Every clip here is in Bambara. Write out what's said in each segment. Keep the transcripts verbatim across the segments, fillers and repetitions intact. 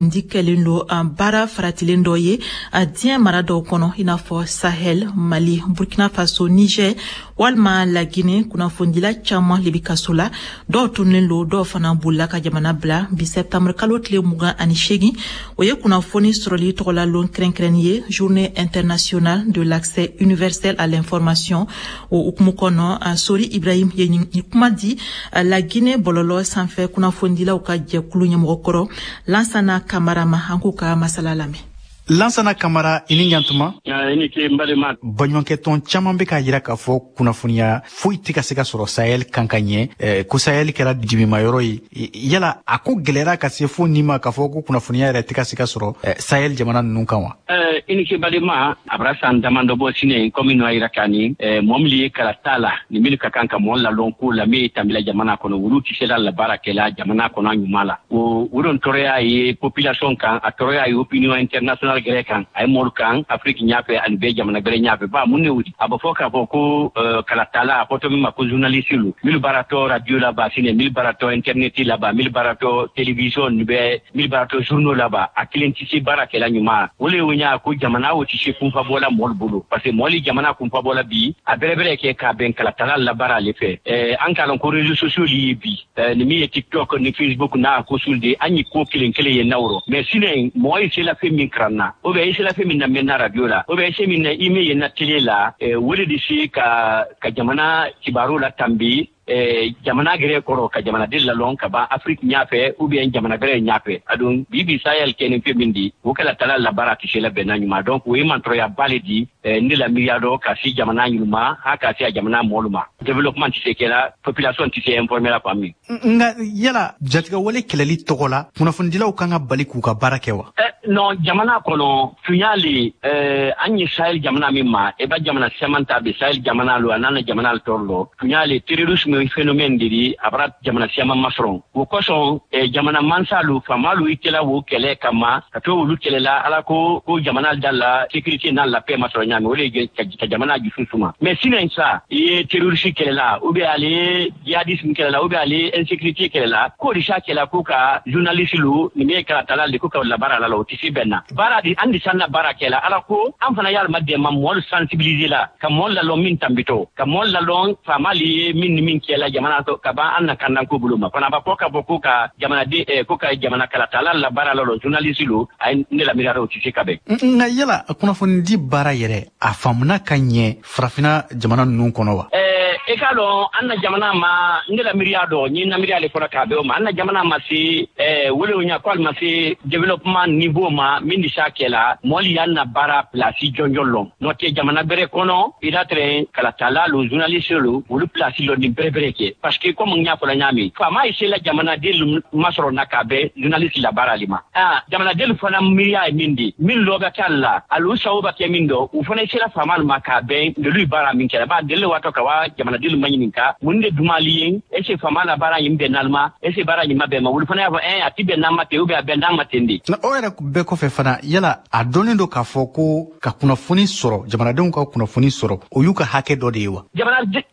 Di kɛlen don an baara faratilen dɔ ye a diɲɛ mara dɔw kɔnɔ, i n'a fɔ Sahel, Mali, Burkina Faso, Niger walima Lagine. Kunnafonidila caman le bi kaso la, dɔw tununnen lo, dɔw fana bolila ka jamana bila. Bi septembre kalo tile mugan ani seegin, o ye kunnafoni sɔrɔli tɔgɔla lon kɛrɛnkɛrɛnni ye, Journée internationale de l'accès universel à l'information. O hukumu kɔnɔ, Sori Ibrahim ye nin kuma di Lagine bɔlɔlɔ sanfɛ kunnafonidilaw ka jɛkulu ɲɛmɔgɔ kɔrɔ Lansana Kamara ma. An k'u ka masala lamɛn. Lansana Kamara, i ni ɲantuma. I ni ce, n balima. Baɲumankɛtɔn caman bɛ k'a yira k'a fɔ kunnafoniya foyi tɛ ka se ka sɔrɔ Sahel kan ka ɲɛ, eh, ko Sahel kɛra dimimayɔrɔ ye. Yala a ko gɛlɛyara ka se fo nin ma k'a fɔ ko kunnafoniya yɛrɛ tɛ ka se ka sɔrɔ eh, Sahel jamana ninnu kan wa? eh, i ni ce, balima. A bara san damadɔ bɔ sini, komi n'o yira k'a ni mɔɔ minnu ye kalata la ni minnu ka kan ka mɔɔ lalɔn ko la min ye tambila jamana kɔnɔ, olu tɛ se la la baara kɛla jamana kɔnɔ ɲuman la. O o don tɔɔrɔya ye population kan, a tɔɔrɔya ye opinion internationale gɛrɛ kan, a ye mɔlu kan Afiriki ɲafɛ ani bɛɛ jamana gbɛrɛ ɲafɛ. Ba mun ne wuli a bɛ fɔ k'a fɔ ko kalatala, a fɔtɔ min ma ko journaliste lu minnu baaratɔ radio la ba sini, minnu baaratɔ internet la ba, minnu baaratɔ télévision ni bɛ minnu baaratɔ journaux la ba, a kelen tɛ se baara kɛla ɲuman. O le y'o ɲa ko jamana o tɛ se kunfa bɔla mɔlu bolo, parce que mɔli jamana kunfa bɔla bi a bɛrɛbɛrɛ kɛ k'a bɛn kalatala la baara ale fɛ. An k'a lɔn ko réseaux sociaux li ye bi ni min ye TikTok ni Facebook n'a ko sul de, an ye ko kelen kelen ye nawrɔ. Mais sini mɔgɔ ye sela fɛn min karan na, ou bien i sela fɛn min na mɛn na radio la, ou bien i se min na i min ye na télé la, o le de se ka ka jamana kibaru la tanbi eh, jamana gɛrɛ kɔrɔ, ka jamanaden lalɔn ka ban Afiriki ɲafɛ ou bien jamana gɛrɛ ɲafɛ. Adon bi bi Sahel kɛ ni fɛn min di, o kɛla tala la baara tɛ se la bɛnna ɲuman. Donc o ye mantɔrɔya le di eh, ne la miiriya dɔ ka se jamana ɲuman ha ka se a jamana mɔlu ma. Développement tɛ se kɛla, population tɛ se informer la fan min. Nka yala jatigɛwale kɛlɛli tɔgɔ la, kunnafonidilaw kan ka bali k'u ka baara kɛ wa? Eh, non, jamana kɔnɔ tunya le eh, an ye Sahel jamana min ma, i ba jamana siaman ta bi Sahel jamana lo, a nana jamana tɔɔrɔ lɔ tunya le. Terrorisme phénomène de di a bara jamana siaman masɔrɔ. O kosɔn eh, jamana mansa lu, faama lu, i tɛla wo kɛlɛ kama ka to olu kɛlɛla ala ko ko jamana da la sécurité n'a la paix masɔrɔ ɲaami, o de ye ka, ka jamana jusu suma. Mais sinon sa i ye terroriste kɛlɛla ou bien ale ye djihadisme kɛlɛla ou bien ale ye insécurité kɛlɛla, k'o de sa kɛlɛ ko ka journaliste lu ni min ye kalatala le ko ka labaara la la, o tɛ se bɛn na baara di. An de san na baara kɛla ala ko an fana y'alima dɛmɛ mɔɔlu sensibiliser la, ka mɔɔlu lalɔn min tanbitɔ, ka mɔɔlu lalɔn faama li ye min ni min kɛla jamana to ka ban an na kandanko bolo ma fana ba fɔ k'a fɔ ko ka jamanaden eh, ko ka jamana kalatala la baara la lɔ journaliste lu, a ye ne la miiriya o tɛ se ka bɛn. Nka yala kunnafonidi baara yɛrɛ, a faamuna ka ɲɛ Farafina jamana ninnu kɔnɔ wa? Eh, i k'a dɔn an na jamana ma, ne la miiriya dɔ n ye na miiriya le fɔra k'a bɛn o ma, an na jamana ma se eh, wele o ɲa ko ali ma se développement niveau ma min di s'a kɛla mɔli y'an na baara place jɔnjɔn lɔn. N'o tɛ jamana bɛrɛ kɔnɔ, i la tɛrɛ kalatala lu, journaliste lu, olu place lɔ ni bɛrɛ bɛrɛ kɛ, parce que comme n y'a fɔla ɲaami, faama ye sela jamanaden masɔrɔ na k'a bɛn journaliste la baara le ma. Ah, jamanaden fana miiriya ye min di min lɔ bɛ kɛ la, alu sago bɛ kɛ min dɔ, u fana sela faama ma k'a bɛn olu ye baara min kɛra ba deli waatɔ ka wa jamanaden ma ɲininka mun de dumali ye, est ce que faama la baara ɲin bɛn n'ale est ce que baara ɲin ma bɛn ma, olu fana y'a fɔ ɛn a ti bɛn n'an ma ten ou bien a bɛn n'an ma ten de. Na o yɛrɛ bɛɛ kɔfɛ fana, yala a dɔnnen don k'a fɔ ko ka kunnafoni sɔrɔ, jamanadenw ka kunnafoni sɔrɔ, o y'u ka hakɛ dɔ de ye wa?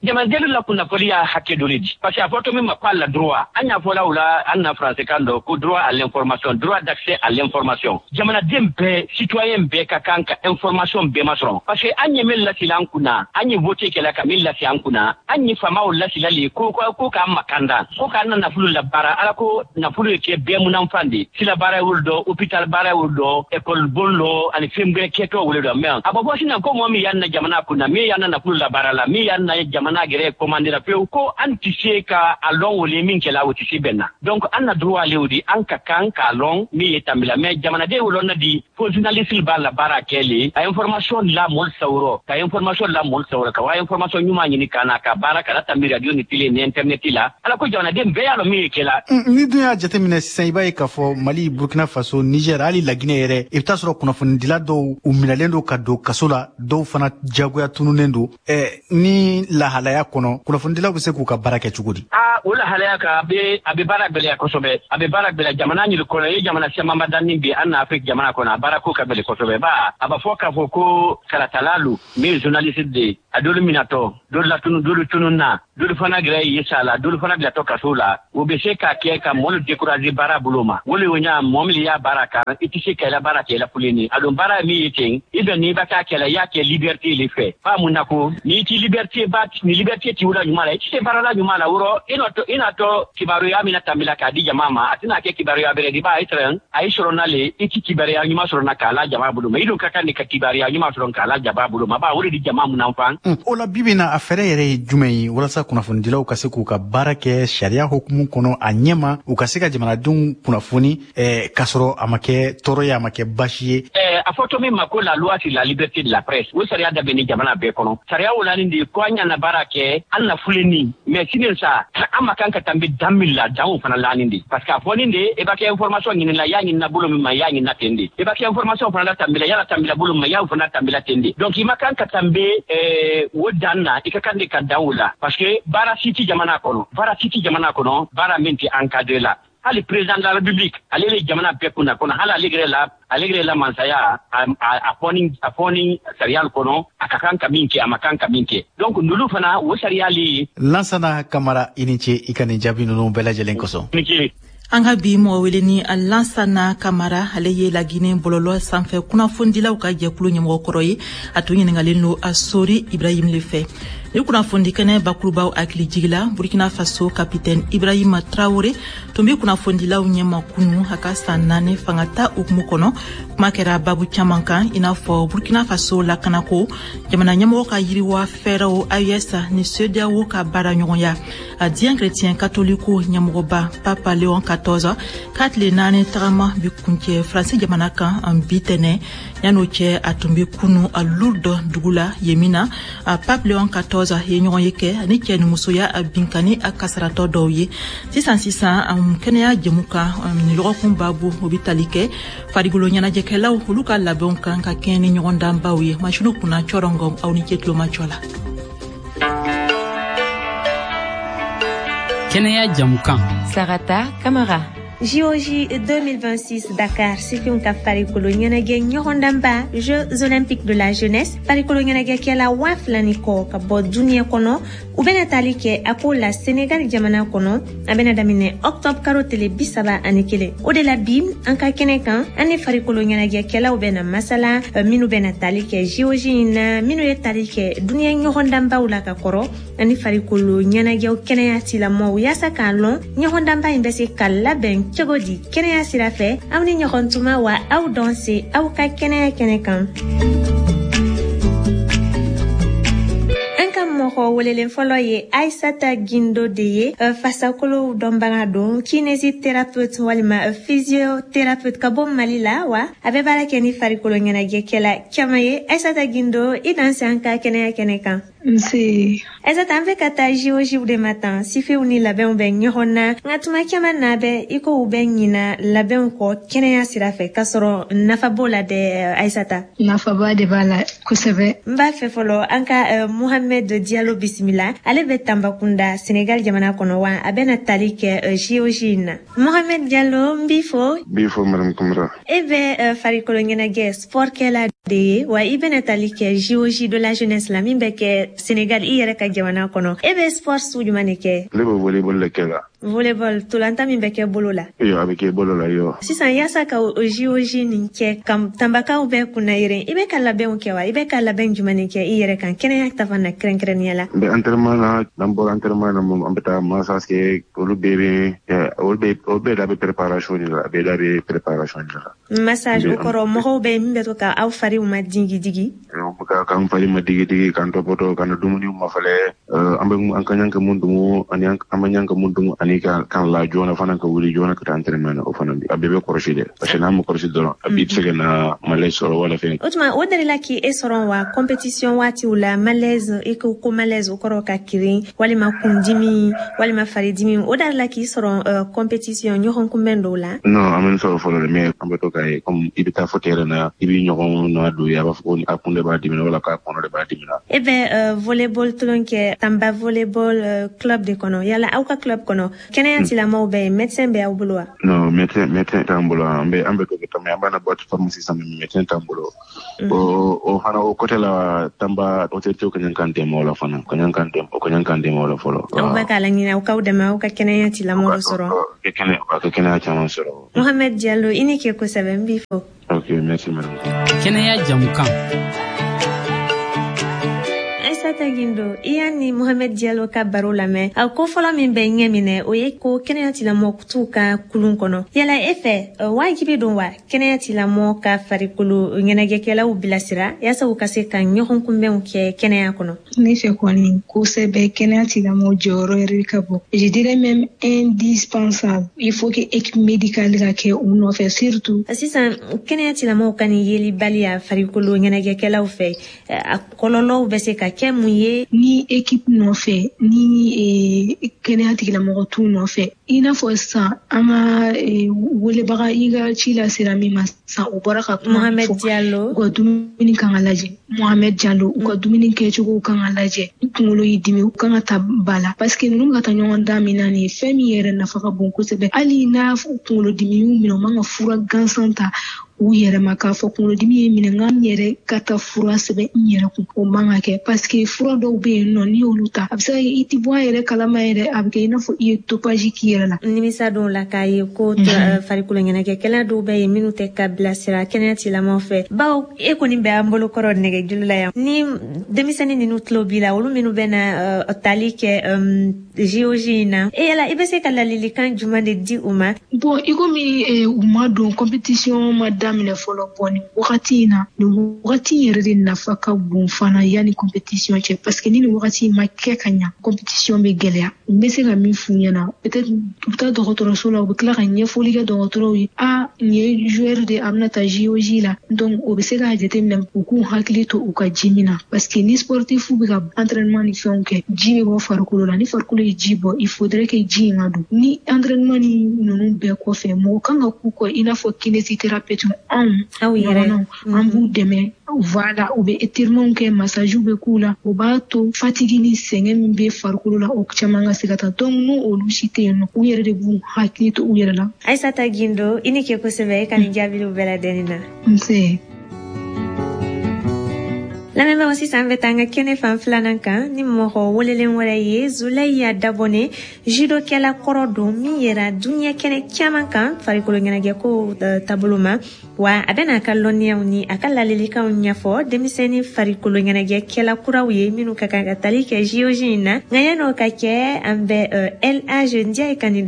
Jamanaden la kunnafoni y'a hakɛ dɔ de di, parce que a fɔtɔ min ma ko a la droit, an y'a fɔla o la an na français kan dɔ ko droit à l'information, droit d'accès à l'information. Jamanaden bɛɛ, citoyen bɛɛ ka kan ka information bɛɛ masɔrɔ, parce que an ye min lasila an kunna, an ye vote kɛla ka min lasi an kunna, an ye faamaw lasila le ko ko ko k'an makanda, ko k'an na nafolo la baara ala ko nafolo ye kɛ bɛɛ munanfan de sila baara y'olu dɔ, hôpital baara y'olu dɔ, école bon lɔ ani fɛn bɛɛ kɛtɔ wele dɔ. Mais a bɔ bɔ sisan ko mɔgɔ min y'an na jamana kunna, min y'an na nafolo la baara la, min y'an na jamana yɛrɛ commandé la pewu, ko an tɛ se ka a lɔn o le min kɛla, o tɛ se bɛn na. Donc an na droit le o di, an ka kan k'a lɔn min ye tambila. Mais jamanaden o lɔn na di fo journaliste b'a la baara kɛ le a information la mɔli sawurɔ, ka information la mɔli sawurɔ, ka wa information ɲuman ɲini ka na ka baara ka tanbi radio ni télé ni internet la ala ko jamanaden bɛɛ y'a lɔn min ye kɛla. Ni dun y'a jateminɛ sisan, i b'a ye k'a fɔ Mali, Burkina Faso, Niger, hali Laginɛ yɛrɛ, i bɛ taa sɔrɔ kunnafonidila dɔw u minɛlen don ka don kaso la, dɔw fana jagoya tununnen don. eh, ni lahalaya kɔnɔ, kunnafonidilaw bɛ se k'u ka baara kɛ cogo di? Aa, o lahalaya kan, a bɛ a bɛ baara gwɛlɛya kosɛbɛ, a bɛ baara gwɛlɛya jamana ɲini kɔnɔ. I ye jamana caman danni bi an na Afiriki jamana kɔnɔ, a baara ko ka gɛlɛn kosɛbɛ. Ba a b'a fɔ k'a fɔ ko kalatala lu min ye journaliste de ye, A dolu minatɔ, dolu latunu, dolu tununna, dolu fana gɛrɛ ye sa la, dolu fana bilatɔ kaso la. O bɛ se ka kɛ ka mɔlu décourager baara bolo ma. O le o ɲa mɔɔ min y'a baara kan, i tɛ se ka i la baara kɛ i la fulenni. A don baara min ye ten, i bɛ n'i bɛ k'a kɛ la, i y'a kɛ liberté le fɛ. Fa mun na ko n'i ti liberté ba, ni liberté t'i la ɲuman la, i tɛ se baara la ɲuman la. Wɔrɔ i n'a i n'a tɔ kibaruya min tambila k'a di jama ma, a tɛna kɛ kibaruya bɛrɛ di ba i sɔrɔ a y'i sɔrɔ n'ale i ti kibaruya ɲuman sɔrɔ na k'a la jama bolo ma. I dun ka kan de ka kibaruya ɲuman sɔrɔ k'a la jama bolo ma, ba o de di jama mun fan. O la bibi na, a fɛɛrɛ yɛrɛ ye jumɛn ye walasa kunnafonidilaw ka se k'u ka baara kɛ sariya hukumu kɔnɔ a ɲɛma, u ka se ka jamanadenw kunnafoni eh, k'a sɔrɔ a ma kɛ tɔɔrɔ ye, a ma kɛ baasi ye? Eh, a fɔ to min ma ko la loi sur la liberté de la presse, o sariya dabɛn ni jamana bɛɛ kɔnɔ. Sariya o la nin de ko an ɲana baara kɛ an na fulenni, mais sini sa an ma kan ka tanbe dan min la, dan o fana lanin de, parce que a fɔ nin de i b'a kɛ information ɲini la, i y'a ɲinina bolo min ma, i y'a ɲinina ten de. I b'a kɛ information fana la tanbe la, i y'a tanbe la bolo min ma, i y'a fana tanbe la ten de. Donc i ma kan ka tanbe eh, o dan na, i ka kan de ka dan o la, parce que baara si ti jamana kɔnɔ, baara si ti jamana kɔnɔ, baara min tɛ encadré la. Hali président de la République, ale le jamana bɛɛ kunna kɔnɔ, hali ale yɛrɛ la, ale yɛrɛ la mansaya a a fɔ a fɔ ni sariya kɔnɔ, a ka kan ka min kɛ, a ma kan ka min kɛ. Donc nulu fana o sariya le. Lansana Kamara, i ni ce i ka nin jaabi ninnu bɛɛ lajɛlen kosɔn. Ni ce. An ka bi mɔgɔ wele ni Lansana Kamara, ale ye Laginɛ bɔlɔlɔ sanfɛ kunnafonidilaw ka jɛkulu ɲɛmɔgɔ kɔrɔ ye. A tun ɲiningalen don a Sori Ibrahim le fɛ. Ni kunnafoni kɛnɛ bakurubaw hakili jigila, Burkina Faso capitaine Ibrahima Traoré tun bɛ kunnafonidilaw ɲɛma kunu a ka san naani fanga ta hukumu kɔnɔ. Kuma kɛra babu caman kan, i n'a fɔ Burkina Faso lakanako, jamana ɲɛmɔgɔ ka yiriwa fɛɛrɛw, A E S ni CEDEAO ka baara ɲɔgɔnya. A diɲɛ chrétien katoliko ɲɛmɔgɔba Papa Léon quatorze k'a tile naani tagama bi kuncɛ Faransi jamana kan an bi tɛnɛ. Yan'o cɛ, a tun bɛ kunu a Lourdes dugu la yen min na a Pape Léon quatorze ye ɲɔgɔn ye kɛ ani cɛ ni musoya a binkani a kasaratɔ dɔw ye. Sisan sisan, an kɛnɛya jɛmu kan nin lɔgɔkun babu, o bɛ tali kɛ farikolo ɲɛnajɛkɛlaw olu ka labɛnw kan ka kɛɲɛ ni ɲɔgɔndanbaw ye. Masiniw kunna cɔrɔngɔ, aw ni ce tulomajɔ la. Kɛnɛya jamukan. Sarata Kamara. J O J deux mille vingt-six Dakar, sifinw ka farikolo ɲɛnajɛ ɲɔgɔndanba, Jeux olympiques de la jeunesse, farikolo ɲɛnajɛkɛla waa fila ni kɔ ka bɔ duniɲɛ kɔnɔ, u bɛna tali kɛ a ko la Senegal jamana kɔnɔ. A bɛna daminɛ octobre karo tele bi saba ani kelen. O de la bi, an ka kɛnɛ kan, an ni farikolo ɲɛnajɛkɛlaw bɛna masala, minnu bɛna tali kɛ J O J in na, minnu ye tali kɛ duniɲɛ ɲɔgɔndanbaw la ka kɔrɔ, ani farikolo ɲɛnajɛw kɛnɛya tilamɔw, yaasa k'a lɔn ɲɔgɔndanba in bɛ se ka labɛn cogo di kɛnɛya sira fɛ. Aw ni ɲɔgɔn tuma wa, aw dɔn se aw ka kɛnɛya kɛnɛ kan. An ka mɔgɔ welelen fɔlɔ ye Aisata Gindo de ye, fasakolow dɔnbaga don, kinésithérapeute walima physiothérapeute ka bɔ Mali la, wa a bɛ baara kɛ ni farikolo ɲɛnajɛkɛla caman ye. Aisata Gindo, i danse an ka kɛnɛya kɛnɛ kan. Nse. Aisata, an bɛ ka taa J O J de ma tan, sifinw ni labɛnw bɛ ɲɔgɔn na, nka tuma caman na bɛ i ko u bɛ ɲina labɛnw kɔ kɛnɛya sira fɛ, k'a sɔrɔ nafa b'o la dɛ, Aisata. Nafaba de b'a la kosɛbɛ. N b'a fɛ fɔlɔ an ka uh, Mohamed Diallo bisimila. Ale bɛ Tanbakunda, Senegal jamana kɔnɔ, wa a bɛna tali kɛ uh, J O J in na. Mohamed Diallo, n b'i fo. N b'i fo, madame Kamara. E bɛ uh, farikolo ɲɛnajɛ sport kɛla de ye, wa i bɛna tali kɛ J O J de la jeunesse la min bɛ kɛ Senegal, i yɛrɛ ka jamana kɔnɔ. E bɛ sport sugu jumɛn de kɛ? Ne bɛ volleyball de kɛ la. Volleyball, tolanta min bɛ kɛ bolo la. Iyo, a bɛ kɛ bolo la, iyo. Sisan, yaasa ka o J O J nin kɛ ka Tanbakaw bɛɛ kunna yɛrɛ, i bɛ ka labɛnw kɛ wa? I bɛ ka labɛn jumɛn de kɛ i yɛrɛ kan kɛnɛya ta fan na kɛrɛnkɛrɛnnenya la? N bɛ entraînement na, n'an bɔra entraînement na, an bɛ taa massage kɛ, olu bɛɛ bɛ olu bɛɛ olu bɛɛ da bɛ préparation de la, a bɛɛ da bɛ préparation de la. Massage, o kɔrɔ mɔgɔw bɛ min bɛ to ka aw fariw ma digi digi? K'an fari ma digi digi, k'an tɔpɔtɔ, k'an dumuniw mafɛlɛ, an bɛ an ka ɲan ka mun dumu ani an ma ɲan ka mun dumu, ani ka kan la joona fana, ka wuli joona ka taa entraînement na, o fana a bɛɛ bɛ kɔlɔsi dɛ, parce que n'an ma kɔlɔsi dɔrɔn, a b'i bɛ se ka na malaise sɔrɔ wala fɛn. O tuma, o delila k'i e sɔrɔ wa compétition waatiw la, malaise? I ko ko malaise, o kɔrɔ ka kirin walima kundimi walima faridimi, o delila k'i sɔrɔ compétition ɲɔgɔn kunbɛn dɔw la? Non, an bɛ sɔrɔ fɔlɔ dɛ, mais an bɛ to k'a ye, comme i bɛ taa fɔ terrain na, i b'i ɲɔgɔn na don ye, a b'a fɔ ko a kun de b'a dimi. dimina wala k'a kɔnɔ de b'a dimina. E bɛ volleyball tulon kɛ Tamba volleyball club de kɔnɔ, yala aw ka club kɔnɔ kɛnɛya tigilamɔgɔw bɛ yen, médecin bɛ aw bolo wa? Non, médecin médecin t'an bolo. An bɛ an bɛ to kɛ an b'an na boîte pharmacie san, mais médecin t'an bolo. O o fana o côté la, Tamba autorité ka ɲan k'an dɛmɛ o la fana, ka ɲan k'an dɛmɛ o ka ɲan k'an dɛmɛ o la fɔlɔ. Aw bɛ k'a laɲini aw k'aw dɛmɛ aw ka kɛnɛya tigilamɔgɔw sɔrɔ. Ka kɛnɛ ka kɛnɛya caman sɔrɔ. Mohamed Diallo, i ni ke kosɛbɛ, n b'i fo. Ok, merci madame. Kɛnɛya jamukan. Aissata Guindo, i y'a ni Mohamed Diallo ka baro lamɛn. A ko fɔlɔ min bɛ ɲɛ minɛ, o ye ko kɛnɛya tigilamɔgɔ t'u ka kulun kɔnɔ. Yala e fɛ, wajibi don wa kɛnɛya tigilamɔgɔ ka farikolo ɲɛnajɛkɛlaw bilasira yaasa u ka se ka ɲɔgɔn kunbɛnw kɛ kɛnɛya kɔnɔ? Ne fɛ kɔni, kosɛbɛ, kɛnɛya tigilamɔgɔ jɔyɔrɔ yɛrɛ ka bon, je dirais même indispensable. Il faut que équipe médicale ka kɛ u nɔfɛ surtout. Sisan kɛnɛya tigilamɔgɔw ka nin yelibaliya farikolo ɲɛnajɛkɛlaw fɛ, a kɔlɔlɔw bɛ se ka kɛ mun ye? Ni équipe nɔfɛ, ni kɛnɛya tigilamɔgɔ t'u nɔfɛ, i n'a fɔ sisan an ka welebaga i ka ci la sera min ma sisan, o bɔra ka kuma. Mohamed Diallo. U ka dumuni kan ka lajɛ. Mohamed Diallo, u ka dumuni kɛcogo kan ka lajɛ. Ni kunkolo y'i dimi, u kan ka ta ba la, parce que ninnu ka taa ɲɔgɔn dan min na nin ye, fɛn min yɛrɛ nafa ka bon kosɛbɛ. Hali n'a kunkolo dimi y'u minɛ, u man ka fura gansan ta u yɛrɛ ma k'a fɔ kunkolodimi ye minɛ, n ka n yɛrɛ ka taa fura sɛbɛn n yɛrɛ kun. O man ka kɛ, parce que fura dɔw bɛ yen nɔ, n'i y'olu ta, a bɛ se ka kɛ i ti bɔ a yɛrɛ kalama yɛrɛ, a bɛ kɛ i n'a fɔ i ye dopage k'i yɛrɛ la. Nimisa dɔw la k'a ye ko farikolo ɲɛnajɛkɛla dɔw bɛ yen minnu tɛ ka bilasira kɛnɛya tigilamɔgɔw fɛ, bawo e kɔni bɛ an bolo kɔrɔ nɛgɛjuru la yan, ni denmisɛnnin ninnu tulo b'i la, olu minnu bɛ na tali kɛ J O J in na, e yala i bɛ se ka ladilikan jumɛn de di u ma? Bon, i komi u ma don compétition ma daminɛ fɔlɔ, bɔn nin wagati in na, nin wagati in yɛrɛ de nafa ka bon fana yanni compétition cɛ, parce que ni nin wagati in ma kɛ ka ɲa, compétition bɛ gɛlɛya. N bɛ se ka min f'u ɲɛna, peut-être u bɛ taa dɔgɔtɔrɔso la, u bɛ tila ka ɲɛfɔli kɛ dɔgɔtɔrɔw ye, a nin ye joueur de, a bɛna taa J O J la, donc o bɛ se k'a jateminɛ u k'u hakili to u ka ji min na, parce que ni sportif bɛ ka entraînement ni fɛnw kɛ, ji bɛ bɔ farikolo la. Ni farikolo ye ji bɔ, il faudrait que ji in ka don. Ni entraînement ni ninnu bɛɛ kɔfɛ, mɔgɔ kan ka k'u kɔ i n'a fɔ kinésithérapeute, anw ɲɔgɔnnaw, an b'u dɛmɛ. Voilà, u bɛ étirement kɛ, massage bɛ k'u la, o b'a to fatigue ni sɛgɛn min bɛ farikolo la, o caman ka se ka taa. Donc n'o olu si tɛ yen nɔ, u yɛrɛ de b'u hakili to u yɛrɛ la. Aissata Guindo, i ni ke kosɛbɛ e ka nin jaabiliw bɛɛ ladɛnni na. Nse. Lamɛnbagaw, sisan an bɛ taa an ka kɛnɛ fan filanan kan ni mɔgɔ welelen wɛrɛ ye, Zulɛya Dabɔne, judokɛla kɔrɔ don min yɛrɛ duniɲɛ kɛnɛ caman kan farikolo ɲɛnajɛko taabolo ma, wa a bɛna a ka lɔnniyaw ni a ka ladilikanw ɲɛfɔ denmisɛnnin farikolo ɲɛnajɛkɛla kuraw ye minnu ka kan ka tali kɛ J O J in na. Nka yan'o ka kɛ, an bɛ L A G Ndiaye ka nin